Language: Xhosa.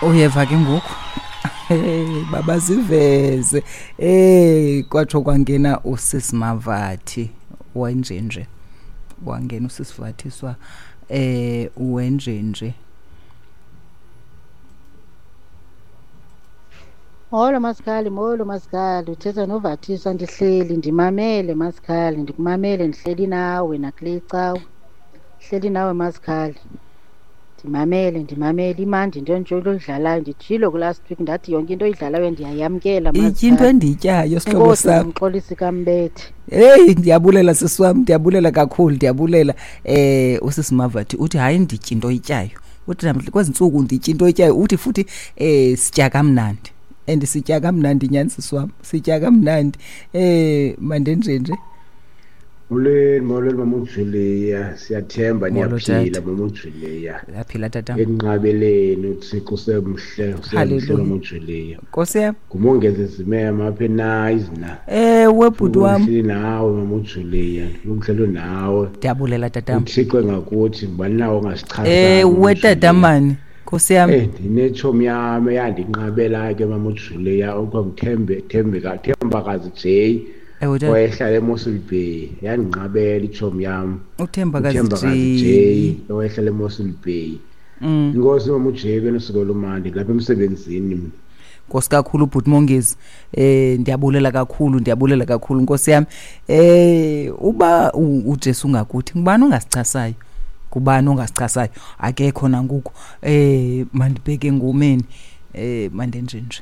Uyeva ke ngoku. Hey, baba ziveze. Hey, kwatsho kwangena usisi Mavathi wenjenje. Wangena usisi Vathiswa wenjenje. Molo Masikhali, molo Masikhali, uthetha noVathiswa. Ndihleli ndimamele Masikhali, ndikumamele ndihleli nawe nakule icawa, ndihleli nawe Masikhali, ndimamele ndimamele. Imandi into nje oyidlalayo. Nditshilo kulast week ndathi yonke into oyidlalayo ndiyayamkela. Itya into endiyityayo sihlobo Enkosi sam. Mxolisi kaMbethe. Hey, ndiyabulela sisi wam, ndiyabulela kakhulu, ndiyabulela. Usisi Mavathi uthi hayi nditya into oyityayo. Uthi namhla kwezi ntsuku nditya into oyityayo. Uthi futhi sitya kamnandi. And sitya kamnandi nyhani sisi wam, sitya kamnandi. Mandenjenje. Molweni, molweni mama uJulia, siyathemba Molo, niyaphila tata. mama uJulia. Uyaphila tata. Enqabeleni uThixo usemhle, usemhle Hallelujah. mama uJulia. Nkosi yam. Ngumongezi Zimema apha eNayizna. Ewe bhuti wam. Ngihleli nawe mama uJulia, ngihleli nawe. Ndiyabulela tata. uThixo engakuthi ngubani nawo ongasichazayo, Ewe mama tata uJulia. mani. Nkosi yam. Ndinetshomi yam eyandinqabela ke mama uJulia, okuthiwa nguThembe, Thembeka, Thembakazi J. Ewe tata. Wayehlala eMossel Bay, yandinqabela itshomi yam. UThembakazi uThembakazi J. J, owayehlala eMossel Bay. Inkosi mama uJ benosuku olumandi lapha emsebenzini mna. Nkosi kakhulu bhuti Mongezi. Ndiyabulela kakhulu, ndiyabulela kakhulu Nkosi yam. Uba uJesu ungakuthi ngubani ongasichasayo? Ngubani ongasichasayo? Akekho nangoku. Mandibheke engomeni. Mandenjenje.